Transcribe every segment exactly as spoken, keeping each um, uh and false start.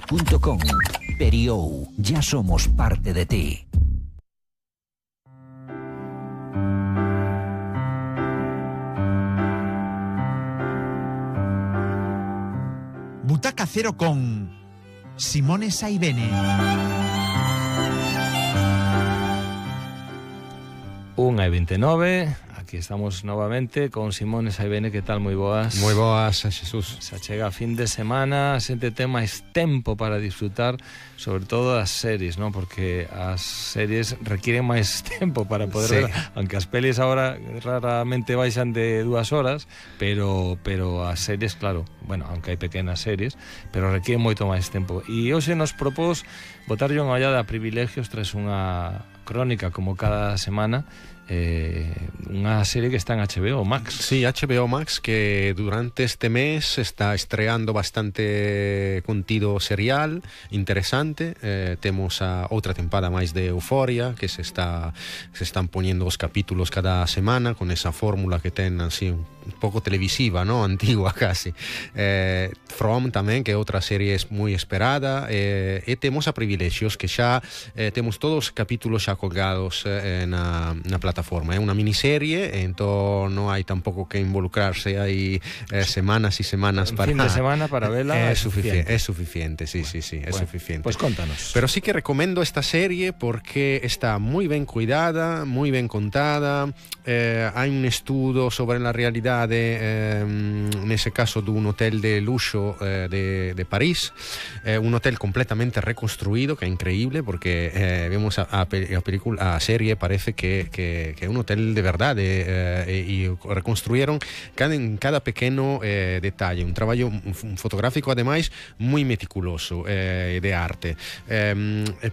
punto com. Periou, ya somos parte de ti. Butaca Cero con Simone Saibene. Unha e vinte e nove, aquí estamos novamente con Simone Saibene. Que tal? Moi boas. Moi boas, Xesús. Se chega a fin de semana, a xente ten máis tempo para disfrutar, sobre todo das series, non? Porque as series requieren máis tempo para poder sí. ver, aunque as pelis agora raramente baixan de dúas horas, pero pero as series, claro, bueno, aunque hai pequenas series, pero requieren moito máis tempo. E hoxe nos propós botarlle unha ollada a Privilegios tras unha crónica como cada semana, eh, unha serie que está en H B O Max. Sí, H B O Max, que durante este mes está estreando bastante contido serial interesante. Eh, temos a outra tempada máis de Euphoria, que se está se están poñendo os capítulos cada semana con esa fórmula que ten así un pouco televisiva, ¿no? Antigua casi. Eh, From tamén, que é outra serie moi esperada, eh, e temos a Privilegios, que xa eh, temos todos os capítulos xa colgados eh, na, na plataforma. É unha miniserie, entón non hai tampouco que involucrarse, hai eh, semanas e semanas un para... fin de semana para vela é é suficiente. É suficiente, sí, bueno, sí, sí, é bueno, suficiente. Pois pues contanos. Pero sí que recomendo esta serie porque está moi ben cuidada, moi ben contada. Eh, hai un estudo sobre a realidade, eh, nese caso dun hotel de luxo eh, de, de París, eh, un hotel completamente reconstruído, que é increíble porque eh, vemos a, a, a película, a serie parece que, que, que é un hotel de verdade, eh, e, e reconstruyeron cada, en cada pequeno eh, detalle, un traballo un fotográfico ademais moi meticuloso, eh, de arte, eh,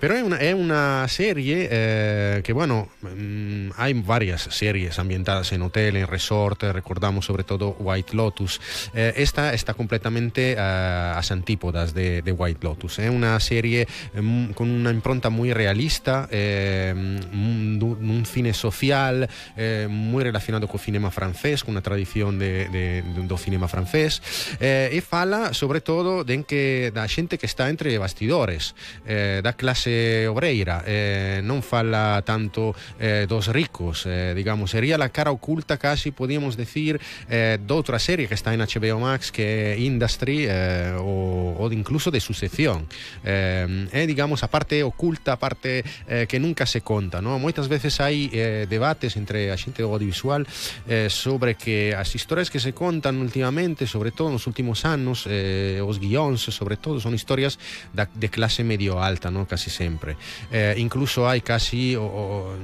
pero é unha, é unha serie eh, que, bueno, mm, hai varias series ambientadas en hotel, en resort, eh, recordamos sobre todo White Lotus. Eh, esta está completamente uh, as antípodas de, de White Lotus. É eh? unha serie eh, con unha impronta moi realista, eh, un cine social eh, moi relacionado co cinema francés, con unha tradición de, de, do cinema francés, eh, e fala sobre todo de que da xente que está entre bastidores, eh, da clase obreira, eh, non fala tanto eh, dos ricos, eh, digamos, sería la cara oculta casi, podíamos decir, eh, doutra serie que está en H B O Max, que é Industry, eh, o, o incluso de Sucesión, eh, é, digamos, a parte oculta, a parte eh, que nunca se conta, ¿no? Moitas veces hai eh, debates entre a xente do audiovisual eh, sobre que as historias que se contan últimamente, sobre todo nos últimos anos, eh, os guións, sobre todo, son historias da, de clase medio alta, ¿no? Casi sempre. Eh, incluso hai casi, o, o,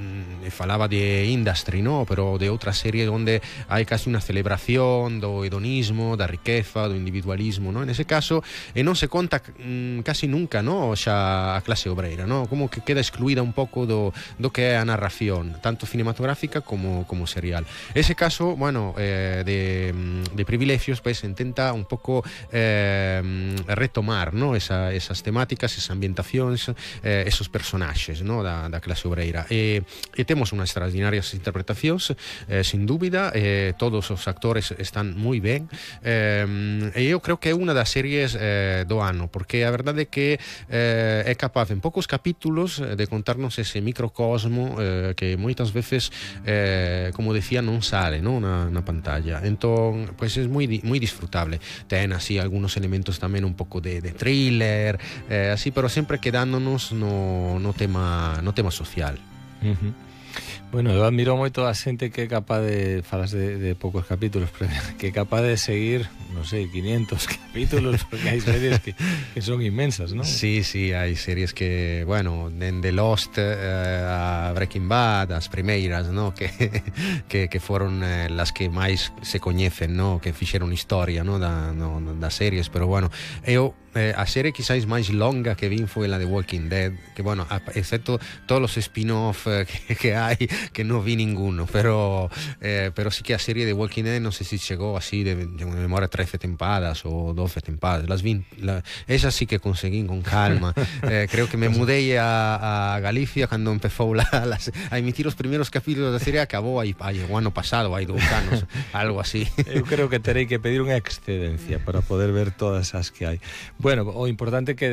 falaba de Industry, ¿no? Pero de outra serie onde hai casi unha celebración do hedonismo, da riqueza, do individualismo, ¿no? En ese caso, e non se conta mm, casi nunca, ¿no? Xa a clase obreira, ¿no? Como que queda excluída un pouco do, do que é a narración, tanto cinematográfica como, como serial. Ese caso, bueno, eh, de, de Privilegios, pues intenta un pouco eh, retomar, ¿no? Esa, esas temáticas, esas ambientacións, eh, esos personaxes, ¿no? Da, da clase obreira. E, e temos unhas extraordinarias interpretacións, eh, sin dúbida, eh, todos os actores están moi ben, eh, e eu creo que é unha das series eh, do ano, porque a verdade é que eh, é capaz en poucos capítulos de contarnos ese microcosmo eh, que moitas veces, eh, como decía, non sale, ¿no? na, na pantalla. Entón, pois pues é moi, moi disfrutable. Ten así algunos elementos tamén un pouco de, de thriller, eh, así, pero sempre quedándonos no, no tema no tema social. Uh-huh. Bueno, eu admiro moito a xente que é capaz de, falas de, de poucos capítulos, pero que é capaz de seguir, non sei, quinientos capítulos, porque hai series que, que son inmensas, ¿no? Sí, sí, hai series que, bueno, dende Lost eh, a Breaking Bad, as primeiras, ¿no? Que, que, que foron eh, las que máis se coñecen, ¿no? Que fixeron historia, ¿no? Da, no, das series, pero bueno, eu eh, a serie quizás máis longa que vin foi la de Walking Dead, que bueno, a, excepto todos os spin-off eh, que, que hai, que non vi ninguno, pero eh, pero sí que a serie de Walking Dead non sei se si chegou así de, de memoria trece tempadas ou doce tempadas, las vi, la, esas sí que conseguín con calma. eh, creo que me mudei a, a Galicia cando empezou la, las, a emitir os primeiros capítulos da serie, acabou aí, aí o ano pasado, hai dous anos, algo así. Eu creo que terei que pedir unha excedencia para poder ver todas as que hai. Bueno, o importante é que